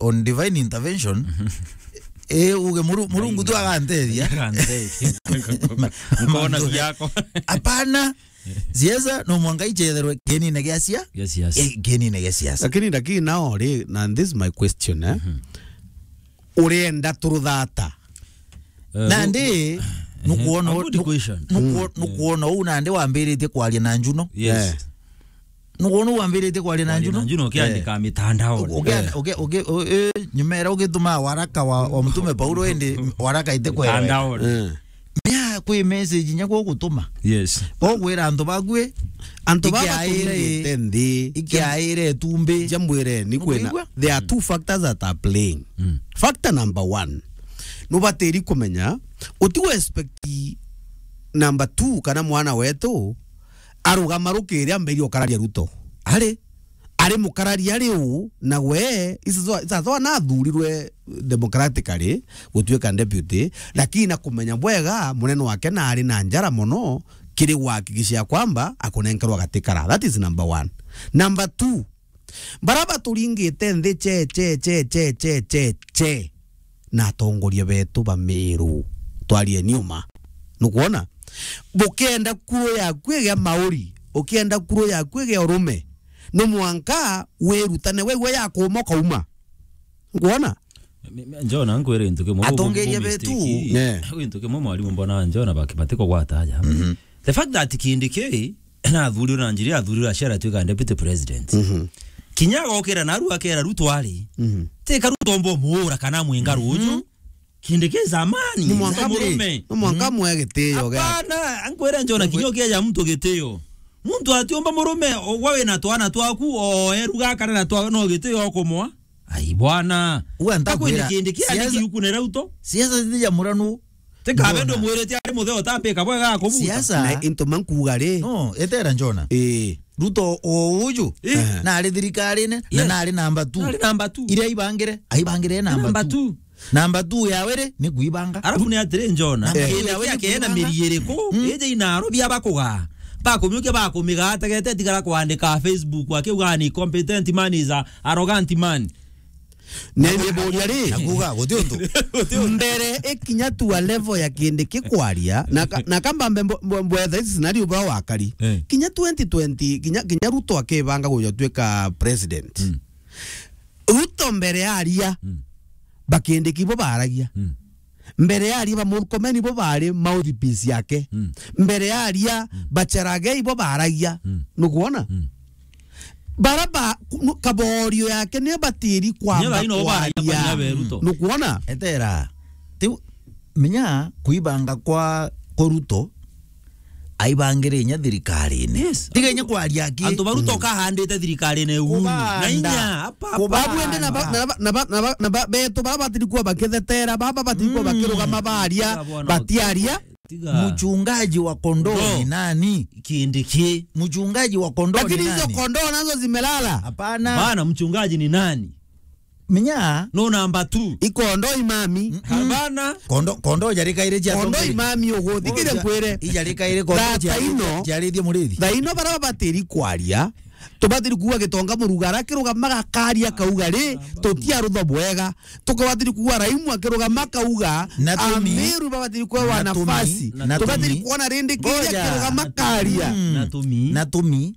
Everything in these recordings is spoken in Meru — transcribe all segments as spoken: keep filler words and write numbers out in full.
on divine intervention, eh, uge Muru-, Murungu tu aganteithia. Aganteithia. Nkona ciako. Hapana. Siasa no mwanka ichetherwe kienine gia cia-, gia siasa. Eh, kienine gia siasa. Lakini, lakini now ri, na this is my question, eh? Mhm. Urenda turuthata? Eh, nandi, nukuona, a good question. Nukuo-, nukuona uu nandi wambiritie kwaria na Njuno. Yes. Eh. Nukuona uu wambiritie kwaria na Njuno? Kwaria na Njuno ukiandika mitandaoni. Uki-, uki-, uki-, u-, eh, nyuma era ugituma waraka wa, wa Mtume Paulo, indi waraka itikwera. Mitandaoni. Eh. Nia kwi message nya gugutuma. Yes. Gugwira antu baku, antu baba ikiaire, turingite nthi. Ikiaire itumbi. Njambwire ni kwina. Nukwigua? There are two factors that are playing. Mm. Factor number one. Nubatiri kumenya, uti expect number two kana mwana wetu arugama rukiri ambirie ukararia Ruto. Ari, ari mukararia ari u, na we, isazo, isazo anathurirwe democratically gutuika deputy, lakini na kumenya bwega munene wake na ari na njara mono kiri gwakikisha kwamba akunenkerwa gatikara. That is number one. Number two, bara baturingite nthi che, che, che, na atongoria betu ba Meru, twarieni uma. Nukwona? Bukienda kuru yaku igia mauri, ukienda kuru yaku igia urume, no mwanka wirutane we, we ya kuuma ukauma. Nukwona? Mi-, mi-, Njona, nkwire gintu kimwe, atongeria betu. Mistake. Ne. Gintu kimwe mwarimu mbona Njona baki-, batikugwata aja. Mhm. The fact that Kindiki nathurire na njira athurire aciara atuika deputy president. Mhm. Kinya agokira naru akera Ruto ari. Mhm. Tika Ruto mbo muura kana mwinga ruju. Mhm. Kindiki zamani, ni mwanka mwe-, murume. Ni mwanka mwe gitio gake. Hapana, nkwire Njona, kinya ukieja muntu gitio. Muntu atiumba murume, ogwa wina twana twaku, o eruga kana na twa, no gitio okumwa. Ai bwana. Uga ntakwira. Akwine Kindiki siasa, aniki ukunere uto. Siasa zija muranu. Tika bendo mwirite ari mutheo tambika bwega akubuta. Siasa. Na into mankuga ri. No, etera Njona. Eh. Ruto o uju, eh, na ari thirikarine, na, yes, na ari namba two. Na ari namba two. Iria aibangire, aibangire namba two. Namba two. Namba two yawe ri, ni kuibanga. Arafu ni atiri Njona. Namba two yawe ni kuibanga. Kena miri iriku? Mm. Ije inaro bia bakuga. Bakumiukia bakumiga ategete tigara kwandika Facebook akiuga ni competent man is a arrogant man. Na ni mburia ri, na kuga, guti untu. Mbere ikinya tu a level ya Kindiki kwaria, na ka-, na kamba mbe mbo-, mbo-, mbwetha ici scenario bwa wakari. Eh. Kinya twenty twenty, kinya, kinya Ruto akibanga guja tuika president. Mm. Ruto mbere aria, mm, ba Kindiki bo baragia. Mm. Mbere aria ba Murkomen bo bari mouthpiece yake. Mm. Mbere aria, mm, ba Cherargei bo baragia. Mm. Nukwona? Mm. Bara ba, ku-, nu-, kaborio yake ni batiri kwamba. Nyo thaino kwaria. Baria, baria be Ruto. Nukwona? Etera. Tiu, menya kuibanga kwa, kwa Ruto, aibangire inya thirikarine. Yes. Tiga inya kwaria aki. Antu ba Ruto, mm, kahandite thirikarine uu. Kubanda. Na inya, apa, kubanda. Babu ende na ba, na ba, na ba, na ba, na ba, betu bara batiri kuwa bakithetera, baba batiri kuwa, mm, bakirugama baria, batiaria. Tiga. Mchungaji wa kondoo ni nani? Kindiki. Mchungaji wa kondoo ni nani? Lakini hizo kondoo nazo zimelala. Hapana. Bana, mchungaji ni nani? Menya. No number two. Ikondo imami. Mm-mm. Hapana. Kondo, kondo jarikaire cia kondo atongeria. Imami uguthikire nkwire. Ijarikaire kondo. Thaa cia, ino, ciarithia murithi. Thaa ino bara batiri kwaria. Tubatiri kuuga Gitonga Murugara akirugama gakaria kauga ri, tutiarutho bwega. Tukabatiri kuuga Raimu akirugama kauga, natumi, Ameru babatiri kwewa nafasi. Natumi. Tubatiri kuona rindi kiria akirugama karia. Mm. Natumi. Natumi.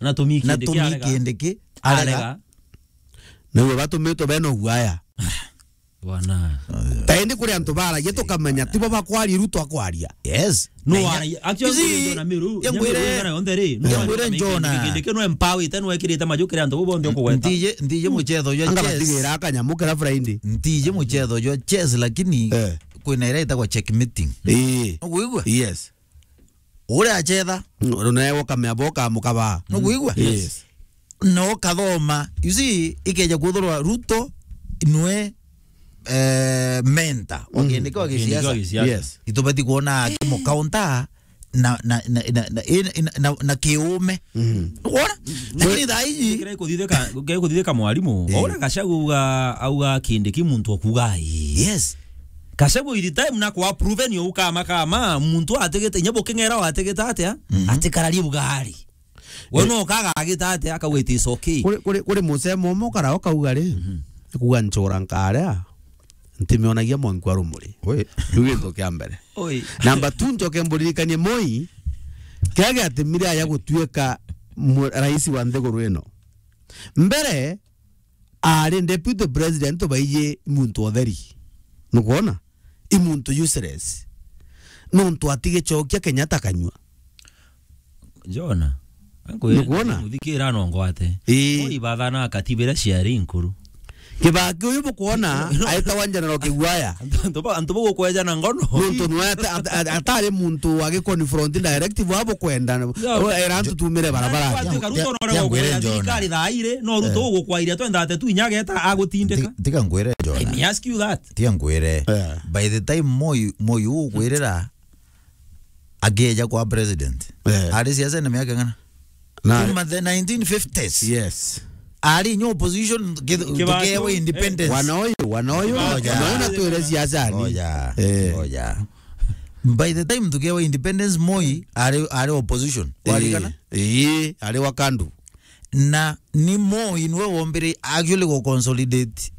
Natumi Kindiki arega. Kindiki arega. Arega. Nĩwe batumitwe bena guaya. Bwana. Ta indi kuri antu baragia tukamenya tibo bakwaria Ruto akwaria. Yes. No, actually, Njona Miru, Njona Miru ngana yonthe ri, no, Njona Miru. Kindiki no empower ite no ekirite majukire antu bo bonthe okugweta. Ntije, ntije muchetho jwa chess. Anga batigira akanyamu kira Friday. Ntije muchetho jwa chess, lakini, eh, kwina ira itagwa check meeting. Eh. Nukwigua? Yes. Uria achetha. Nawe ukamea bo ukamukaba. Nukwigua? Yes. No kathoma. You see, ikeja kwithirwa Ruto nwe, eh, mentor wa Kindiki wa gisiasa. Kindiki wa gisiasa. Yes. Itubati kuona akimukaunta na, na, na kiume. Mm. Wona? Lakini thaa iji kira ikuthithika, kira ikuthithika mwarimu, eh, ora Gachagua auga, auga Kindiki muntu okuga ii. Yes. Gachagua with time na kwa proven yo ukama kama muntu ategete, inya buking'era wategete atia, mhm, atikararie bugari. We, eh, no kaga agita atia, akauga it is okay. Kuri, kuri, kuri musemo umwe ukara ukauga ri, mhm, kuga nchora nkaria, ntimionagia mwanki wa rumuri. Ui. Riu gintu kia mbere. Ui. Namba two, njoke mburirikanie Moi, kiria giatumire aja gutuika mu-, rais wa nthiguru ino. Mbere, aari deputy president baiji muntu utheri. Nukwona? I muntu useless. Nontu atigicokia Kenyatta kanyua. Jona. Nukwona? Muthikira no ngwate. Ii. Moi bathana katiba iria ciari nkuru. Kibaki uyu bukwona aetawa General Kigwaya. Antu ba-, antu bugukweja na ngono. Nontu nwe ata-, ata-, atari muntu wa giconfront direct bwa bukwenda. Yeah. Era antu tumire barabara. Kwati Karuto no Tia ngwire, Jona. Thirikari thaa iri, no Ruto ugukwairia twendate tu inya ageta agutindika. Ti-, tiga ngwire, Jona. Let me ask you that. Tiga ngwire. Eh. By the time Moi, Moi ugukwirira, akieja kwa president. Eh. Ari siasa na miaka ng'ana? Na kuma the nineteen fifties. Yes. Ari nyo opposition, ki-, Kibaki, tukewa independence. Wana uyu, wana uyu, Ngoja. Wana uyu na twire siasa ni. Ngoja. Eh. Ngoja. By the time tukewa independence, Moi ari, ari opposition. Warikana? Eh, eh, ari wa KANU. Na ni Moi nwe wombire actually go consolidate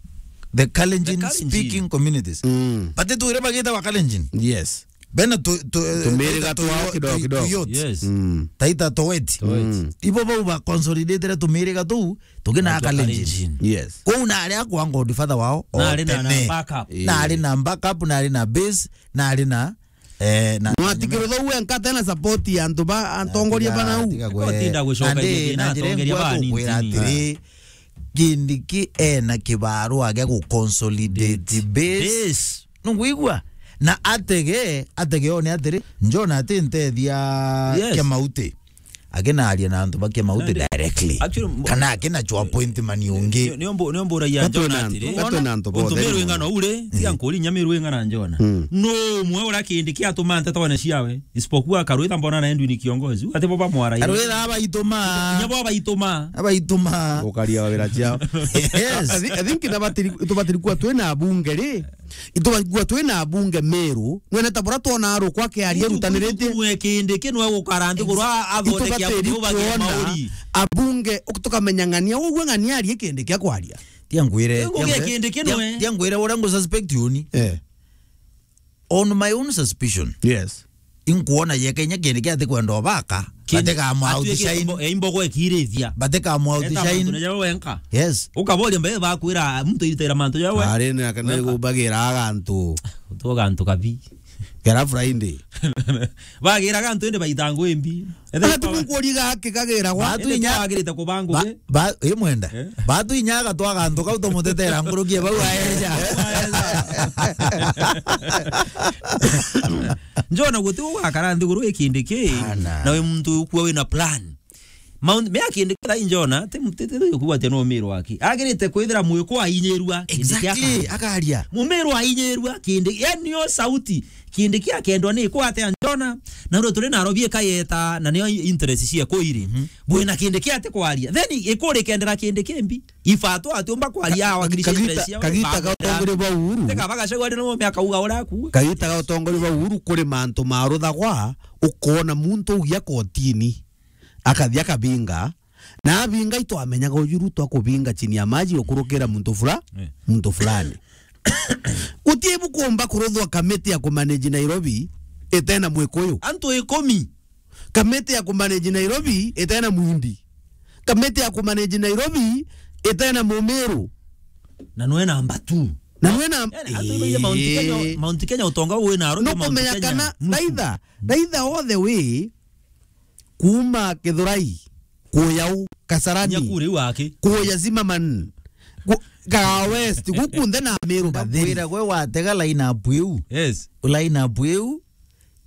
the Kalenjin The Kalenjin. speaking communities. Mm. But tuire bagita wa Kalenjin. Yes. Bena tu, tu, Tumiriga taita twao tu, kidogo tu, kidogo. tu, Yes. Mm. Taita Toweti. Toweti. Mm. Ibo bau ba consolidatire tumiriga tuu, tugina Taitwa Kalenjin. Kalenjin. Yes. Kou na aria kwa godfather wao, Na o ari na, na tene. backup. Na ari na backup, na ari na base, na ari na, eh, na Mwatikirutha uwe nkate na support ya antu ba, atongoria ba nau. Tiga kwe. Utinda gucoka Nandi, igithina na njira atongeria ingwa ba tukwira nini. atiri, Kindiki ena kibarua gia gu consolidate base. Base. Nungwigua? Na atege, atege one atiri, Njona ati ntethia Yes. kia mauti. Akinaria na antu ba kia mauti Nandi, directly. actually, mbo- Kana akina chwa appointment ungi. Nio, nio mbo-, nio mburagia Gatwe Njona na atiri. antu, gatwe na antu Untu bothe Meru ni ing'ana mono. ure, tiga Mm. nkuri inya Meru ing'ana Njona. Mm. No umwe uria Kindiki atuma nteto one ciawe. Isipokuwa Karwitha mbona na Edwin Kiongozi. Ati bo bamwaraire. Karwitha abaituma. Inya bo abaituma. Abaituma. Gukaria wira ciao. Yes. I thi-, I think na batiri, tubatiri kuwa twina abunge ri. Itubaigua twina abunge Meru, nwene ta bura twona arukwa akiaria Muntu erutaniritie. Kumwe Kindiki nwe gukara nthi kurwa athondeke Itubatiri abuge kuona mauri. Abunge, tukamenya ng'ania, ugwe ng'ania arie Kindiki akwaria. Tia ngwire, Tia ngwire, Kindiki tia, nwe. tia ngwire uria ngu suspect uni. Eh. On my own suspicion. Yes. Inkuona ye Kenya Kindiki atikwenda obaka, Kindiki batika mwa atwike outshine. Imbo-, eh, imbogo ekirithia. Batika mwa Eta outshine. Mantu na jawe wenka. Yes. Ukaboria mbe bakwira muntu iritaira mantu jawe. Ari na kana Wenka. Gubagira agantu. Utoga antu kabi. Kera Friday. Bagira agantu indi baita ngwimbi. Ethe Ati kwa- mukuria gaki kagira gwa. Batu Indi inya- twagirite kubangwa Ba-, ge. Ba-, ii mwenda. Eh? Batu inya agatwaga antu kau tumutetera nkuruki e bau aeja. Njona guti ugakara nthiguru ikindi ki, Ana. Na wi muntu ukua wina plan. Mount, me akindi kira Njona, ti, ti, ti, ti kuwa ati no Meru aki. Agirite kwithira mwiko ainyirua, kindi kia Exactly, akaria. Akaria. Mumeru ainyirua, kindi, yani yo sauti. Kindi kia kendwa ni kwa ate Njona, na ndo turi na robi ikayeta, na niyo interest cia kuiri. Mhm. Bwina kindi kia ate kwaria. Then ikuri kendera kindi kimbi. Ifato atiumba kwaria Ka-, awakilisha kagita, interest cia kagita ga utongori bwa Uhuru. Teka bagacagwa ni no miaka uga ura ku. Kagita ga utongori bwa Uhuru kuri mantu maruthagwa, ukona muntu ugia kotini. Akathi akabinga, na abinga itwamenyaga uju Ruto akubinga chini ya maji ukurukira muntu fula-, Eh. muntu fulani. Guti bukumba kuruthwa kamiti ya kumanage Nairobi itena Mwikuyu. Antu ikumi. Kamiti ya kumanage Nairobi itena Muhindi. Kamiti ya kumanage Nairobi itena Mumiru. Na nwe namba two. Na nwe na- Yani, antu ibagia Mount Kenya, Ii. Mount Kenya utonga wi na Nairobi, Mount Nukumenya Kenya kana nusu. Raitha, raitha all the way, kuma Githurai, kuya u, Kasarani, Nyakuri wake. Kuya Zimmerman, ku-, Kahawa West, guku nthe na Meru batheri. Ndakwira gwe watega line up iu. Yes. Line up iu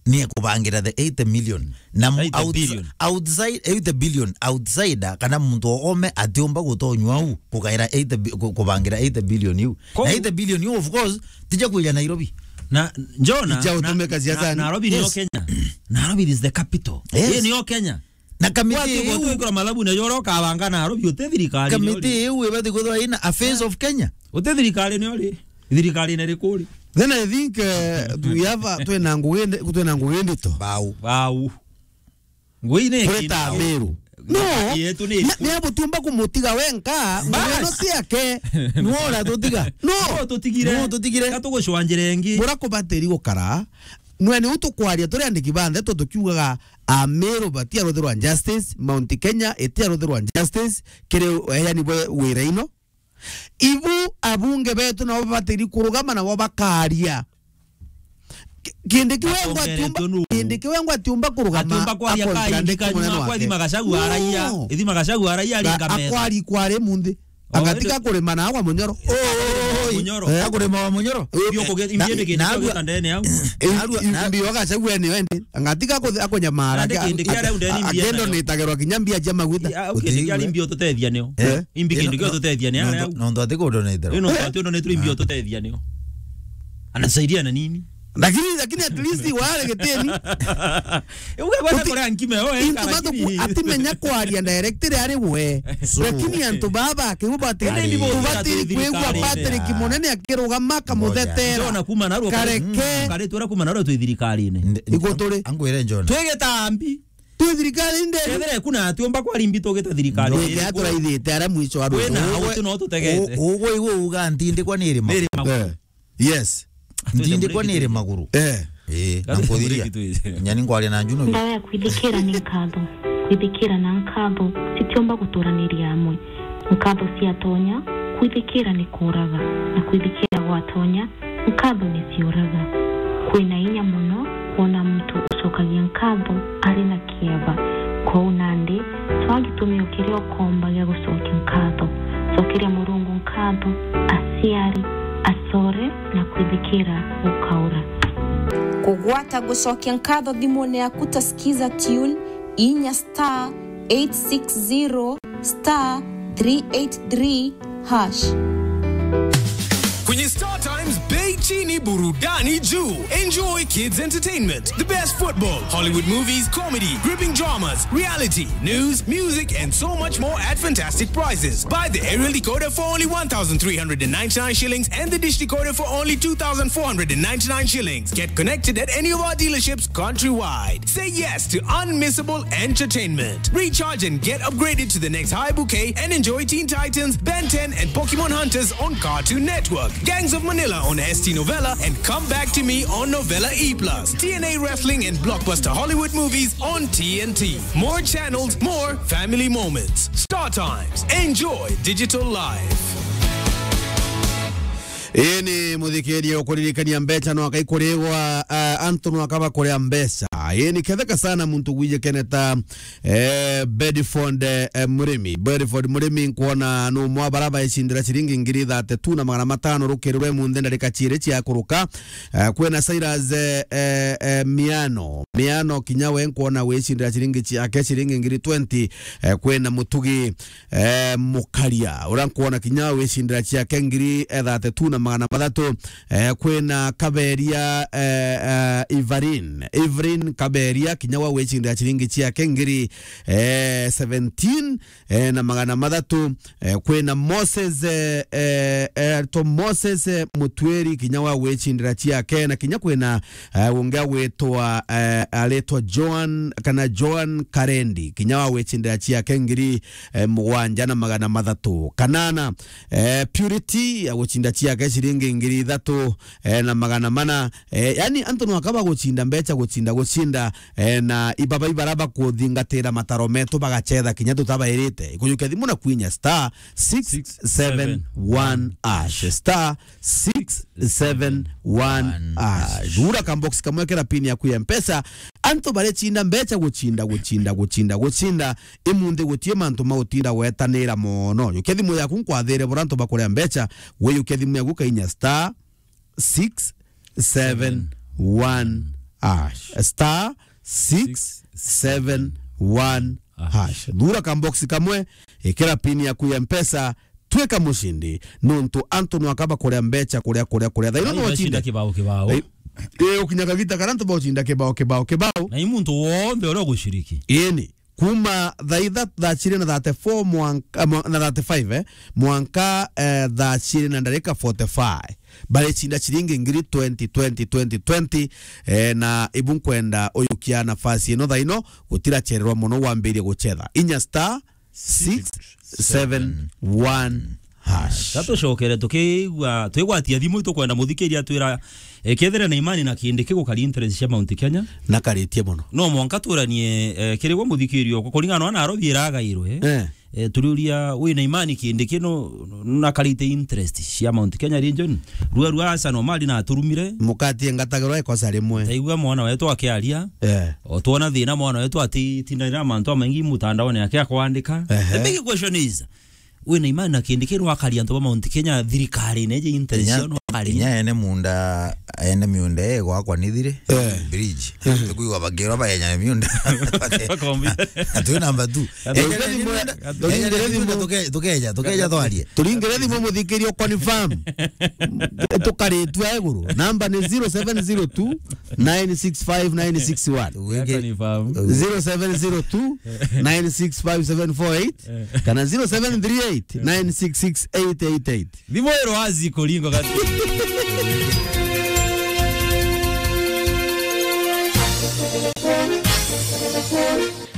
ni kubangira the eighty million. Na mu-, eighty outs-, billion. Outside, eighty billion, outsider, kana muntu o ome atiumba gutonywa u, kugaira eighty bi-, ku-, kubangira eighty billion iu. Ko- Na eighty billion iu, of course, tija kuja Nairobi. Na, Njona, Ija na, utumika na, siasani. Nairobi niyo Yes. Kenya. Nairobi is the capital. Yes. Hii niyo Kenya. Na kamiti Watu iu, watu wikira malabu na yoro kabanga Nairobi, uti thirikari kamiti niyo ri. Iu ibati kwithirwa ina a face of Kenya. Uti thirikari niyo ri. Thirikari ni riku ri. Then I think, eh, we have a, twina ngugi ndi-, twina ngugi ndito. Bau. Bau. Ngui ni Kuri kindu. Ta Meru. No. Yetu ni ni abutiumba kumutiga wenka, bas, ngweno ciake. Nuo uratutiga. No. No tutigire. No tutigire. Ka tugucwanjire ingi. Bura kubatiri gukara. Nwe ni utukwaria turi andiki ba ndeto tukiugaga Amiru batiaruthirwa justice, Mount Kenya itiaruthirwa justice, kiri eani bwe wira ino. Ibu abunge betu nabo babatiri kurugama nabo bakaria. Ki-, kindi kiwengwa atiumba, kindi kiwengwa atiumba kurugama. Atiumba kwaria akonjira kai ndiki kanyuma munene kwa wake. Ithima Gachagua araia. No. Ithima Gachagua araia. Ga-, aringa metha. Akwari kwari munthi. Oh, agatiga kurima na agwa munyoro. Oi. Munyoro. Eh? Akurima wa munyoro. Bio kuge-, na, imbiende kindi na kio arua gita ndene au. Eh, narua, i-, na mbio Gachagua ni wendi. Angatiga ku-, akunyamara. Nandi kindi kia riu ndeni imbiende akendo nio. Nitagerwa kinya mbia cia maguta. Ya, au kindi kia riu mbio tutethia nio. Eh? Imbi kindi kio tutethia ni ara au. Nontu ati kundo nitero. Ino ati undo nitero imbio tutethia nio. Anasaidia na nini? Lakini, lakini at least wale geteni. Uge bwana kore ankime, oh, eh, into batu lakini ku-, atimenya kwaria direct ari we. So, lakini antu baba kiu bati-, ende ni bo tubatiri kwigua thirikari-ini. Patrick Munene akirugama kamuthetera. Ndona kuma narua kare-, kareke. Kare twira kuma narua twi thirikari-ini. Iguturi. Angwire John. Twi gitambi. Twi thirikari-ini. Kethira kuna atiumba kwa rimbi tugita thirikari. Ndwike aturaithite ara mwicho wa kwina rugo. Hau tu no tutegete. U-, ugwe igwe uga ntindikwa ni irima. Ni irima. Eh. Yes. Ntindikwa ni iri maguru. Eh. Eh, na nkuthiria. Nyani nkwaria na njuno. Ndawa ya kwithikira ni nkatho. Kwithikira na nkatho citiumba guturaniria amwe. Nkatho ciatonya, kwithikira ni kuuraga, na kwithikira gwatonya, nkatho ni ciuraga. Kwina inya mono kwona muntu ucokagia nkatho ari na kieba. Kwou nandi, twaa gitumio kiria ukomba gia gucokia nkatho. Cokeria Murungu nkatho, aciari, acore, na kwithikira gukaura. Kugwata gucokia nkatho thimune yaku ta Skiza Tune, inya star eight six zero star three eight three hash. Kwenye Star Times, bei chini, burudani juu. Enjoy kids entertainment, the best football, Hollywood movies, comedy, gripping dramas, reality, news, music, and so much more at fantastic prices. Buy the aerial decoder for only one thousand three hundred and ninety-nine shillings and the dish decoder for only two thousand four hundred and ninety-nine shillings. Get connected at any of our dealerships countrywide. Say yes to unmissable entertainment. Recharge and get upgraded to the next high bouquet and enjoy Teen Titans, Ben ten, and Pokemon Hunters on Cartoon Network, Gangs of Manila on S T Novella, and Come Back to Me on Novella E plus, T N A Wrestling and blockbuster Hollywood movies on T N T. More channels, more family moments. Star Times. Enjoy digital life. Ii ni muthikiria ukuririkania mbeca no akai kurigwa, ah, antu no akaba kuria mbeca. Ii ni ketheka sana muntu gwije keneta, eh, Bedford, eh, Murimi. Bedford Murimi nkwona no mwa baraba icindira ciringi ngiri thirty-two na magana matano rukiri rwe munthe ndarika ciiri cia kuruka. Eh, kwina Cyrus, eh, eh, eh, Miano. Miano kinya we nkwona wicindira ciringi ciake ciringi ngiri twenty. Eh, kwina Mutugi eh, Mukaria, uria nkwona kinya wicindira ciake ngiri, eh, thirty-two na magana mathatu. Eh, kwina Kaberia, eh, eh, Ivarin. Ivarin Kaberia, kinya wa wicindira ciringi ciake ngiri, eh, seventeen, eh, na magana mathatu. Eh, kwina Moses, eh, eh, eh, to Moses, eh, Mutwiri, kinya wa wicindira ciake, na kinya kwina, eh, ungi agwitwa, eh, aritwa Joan, kana Joan Karendi, kinya wa wicindira ciake ngiri eh, mugwanja na magana mathatu. Kanana, eh, Purity, ya gucinda ciake ciringi ngiri ithatu, eh, na magana mana. Eh, yani, antu no akaba gucinda mbeca, gucinda, gucinda, eh, na ibaba ibara bakuthingatira mataro metu bagacetha kinya tutabairite. Ikujukia thimu na kwinya star six seven one hash. Star six seven one hash. Thura ka box kamwe kira pin yaku ya Mpesa. Antu baricinda mbeca gucinda, gucinda, gucinda, gucinda. Imunthi gutie mantu ma utinda gwetanira mono. Yukia thimu yaku nkwathire bura antu bakuria mbeca. We yukia thimu yaku kainya star six seven one hash. Star six seven one hash. Thura ka box kamwe, ikira pin yaku ya Mpesa, twika mucindi, nontu antu no akaba kuria mbeca, kuria, kuria, kuria. Thaino no ucinde kibao, kibao. Eh, eh, ukinya kagita karia antu baucinda kibao, kibao, kibao. Na i muntu wonthe uria uguciriki. Ii ni. Kuma thaa itha-, thaa ciri na thirty-four mwanka, mwa-, na thirty-five, eh, mwanka, eh, thaa ciri na ndarika forty-five. Baricinda ciringi ngiri twenty, twenty, twenty, twenty, eh, na ibu nkwenda uyukia nafasi ino thaa ino, gutirachererwa mono wambirie guchetha. Inya star six seven one hash. Ka tucokere tukigwa, twigwatia thimu, itukwenda muthikiria atwira, eh, kethira na imani na Kindiki gukari interest cia Mount Kenya. Na karitie mono. No mwanka turanie, eh, kiri gwe muthikiria okwa, kuringana na Nairobi iragairwe. Eh. Eh, turiuria, wina imani Kindiki no, nakarite interest cia Mount Kenya region? Rua, rua, aca no mari na aturumire. Mukati engatagirwa ikosa rimwe. Taigua mwana wetu akiaria. Eh. O twona thina mwana wetu atitindanira mantu amaingi mutandaone ake akwandika. Ehe. The big question is, wina imani na Kindiki no akari antu ba Mount Kenya thirikari neje interest cia no akari? Inya ene munda, ene miunda e gwakwa ni thire. Eh. Bridge. Eh. Tukuigwa bakirwa baenya miunda. Bakombi. Atwi number two. Turingire thimu, tuke-, tukeja, tukeja twarie. Turingire thimu muthikiria confirm. Tukaritwa iguru. Namba ni zero seven zero two, nine six five, nine six one. Confirm. Zero seven zero two, nine six five, seven four eight. Eh. Kana zero seven three eight, nine six six, eight eight eight. Thimu iro wazi kuringo gati.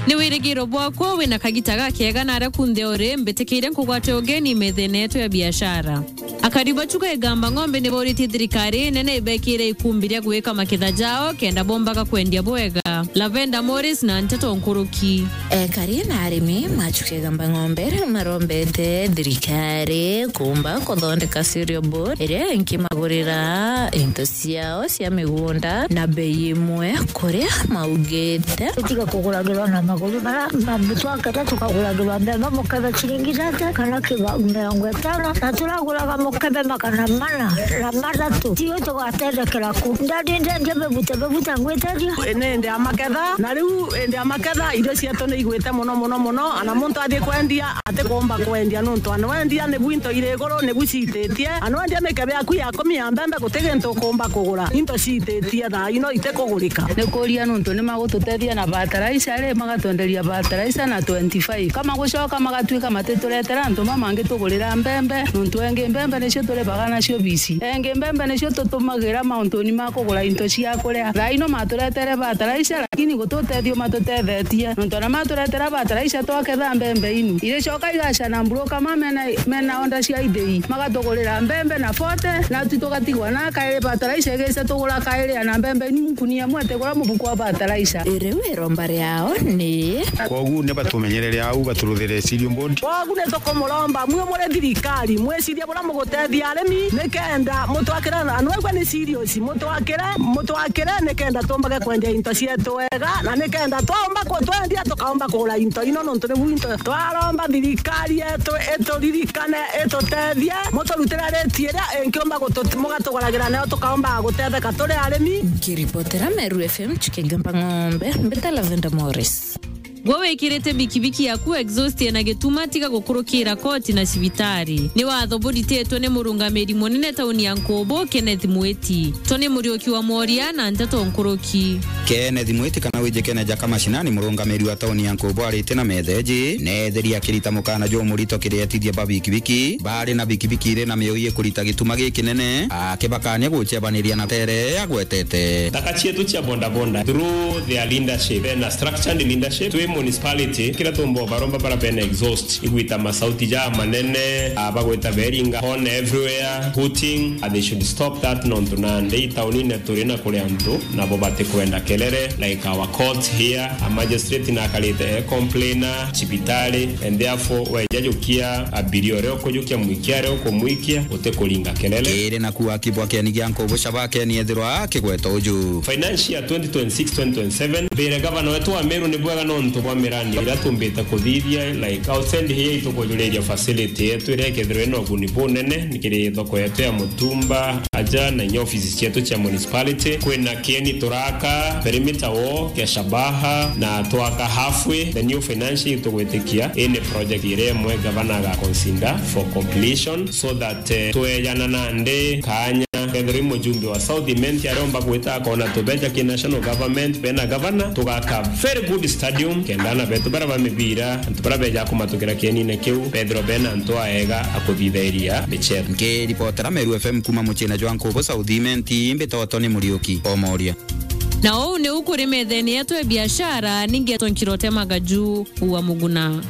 Ni wirigiro bwakwa wina kagita gakega na aria kunthe uri, mbitikiire nkugwate ugeni methene yetu ya biashara. Akari ba Chuka Igamba Ng'ombe ni boritie thirikari nene ibekire ikumbi ria gwika maketha jao kenda bombaga kwendia bwega. Lavenda Morris na nteto nkuruki. Ekari na arimi ma Chuka Igamba Ng'ombe marombete thirikari kumba kuthondeka cereal board iria inkimagurira into ciao cia migunda na bei imwe kuria maugite. Tutiga kuguragirwa na maguru bara, na twaketa tukaguragirwa mbembe mukebe ciringi thate kana kiba mirongo itano, na turaguraga mukebe magana mana na mathatu. Tiwe tugatethekera ku. Ndadi ndendia bebute, bebute ngwiteria. Ni ndi ya maketha, na riu ndi ya maketha, irio cietu ni igwite muno, muno, muno, ana muntu athii kwendia, atikumba kwendia, nontu ana wendia nibu into iri iguru, nibu ciititie. Ana wendia mikebe yaku ya kumi ya mbembe, guti gintu ukumba kugura. Into ciititie thaa ino itikugurika. Ni kuria nontu ni magututethia na fertilizer ri, magatwenderia fertilizer na twenty-five. Kama gucoka magatuika matituretera antu mamangi tugurira mbembe, nontu engi mbembe nicio turibaga nacio bici. Engi mbembe nicio tutumagira mauntuni ma kugura into cia kuria. Thaa ino maturetere fertilizer, lakini gututethia matutethetie. Nontu ana maturetera fertilizer twaketha mbembe inu. Iricoka igacana mburu kama mena, mena onda cia ithei. Magatugurira mbembe na forty, na tu tugatigwa na kairi fertilizer igica tugura kairi ana mbembe inu nkunia imwe tigura mubuku wa fertilizer. Iriu iromba riao ni. Kwogu ni batumenyerere au, baturuthire cereal board. Kwogu ni tukumuromba mwe muri thirikari, mwicirie buria mugutethia arimi, nikenda mutwakire, na nwegwe ni serious, mutwakire, mutwakire nikenda tumbage kwendia into cietu wega, na nikenda twaumba ku-, twendia tukaumba kugura into ino, nontu nibu into. Twaromba thirikari yetu ituririkane, itutethie, muturutire rate iria ingiumba gutu-, mugatuguragira nayo tukaumba gutetheka turi arimi. Nkiripotera Meru F M, Chuka Igamba Ng'ombe, mbita Lavenda Morris. Gwe wikirite bikibiki yaku exhaust na gituma, tiga gukurukira koti na cibitari. Ni watho burititwe ni murungamiri munene tauni ya Nkubu, Kenneth Mwiti. Tony Muriuki wa Mworia na nteto nkuruki. Kenneth Mwiti kana wijikene ja Kamacinani, murungamiri wa tauni ya Nkubu, arite na metheji, neetheri akirita mukana jumurito kiri etithia ba bikibiki bari na bikibiki iri na mioi ikurita gituma gikinene, akibakania gucebaniria na tere agwetete. Thaka cietu cia bodaboda through their leadership, bena structured leadership, twi municipality, kira tumba baromba bara bena exhaust, igwita masauti ja manene, ah, bagwita beringa, horn everywhere, hooting, ah, they should stop that, nontu nandi taunine turi na kuri antu, nabo batikwenda kelele, like our court here, a magistrate nakarite e complainer, cibitari, and therefore, weja jukia abiria uria ukujukia, mwikia aria ukumwikia, utikuringa kelele. Kiri naku akibwa keni gia Nkubu Shabake ni ethirwa akigweta uju. Financial twenty twenty-six twenty twenty-seven, mbire gavana wetu wa Meru ni bwega nontu bwa mirandi iria tumbite kuthithia, like, outside here itukujuriria facility yetu iria ikethirwa ina uguni bunene, ni kiri thoko yetu ya Mutumba, aja na inya ofisi cietu cia municipality. Kwina kieni turaka, perimeter wall kia Shabaha na twaka halfway. The new financial year tugwitikia, ii ni project iria imwe gavana agaconsider for completion, so that, eh, twejana nandi kanya kethirwa i mujumbe wa South Imenti ariomba gwita akona tubeja ki national government, bena gavana, tugaka very good stadium, kenda ana betu bara ba mibira, antu bara beja kumatukira kienine kiu, bethirwa bena antu aega akuthithairia michezo. Nkiripotera Meru F M kuma muciine jwa Nkubu South Imenti, mbitagwa Tony Muriuki Omoria. Na uu niu kuri methene yetu ya biashara, ningetwa Nkirote Magaju wa Muguna.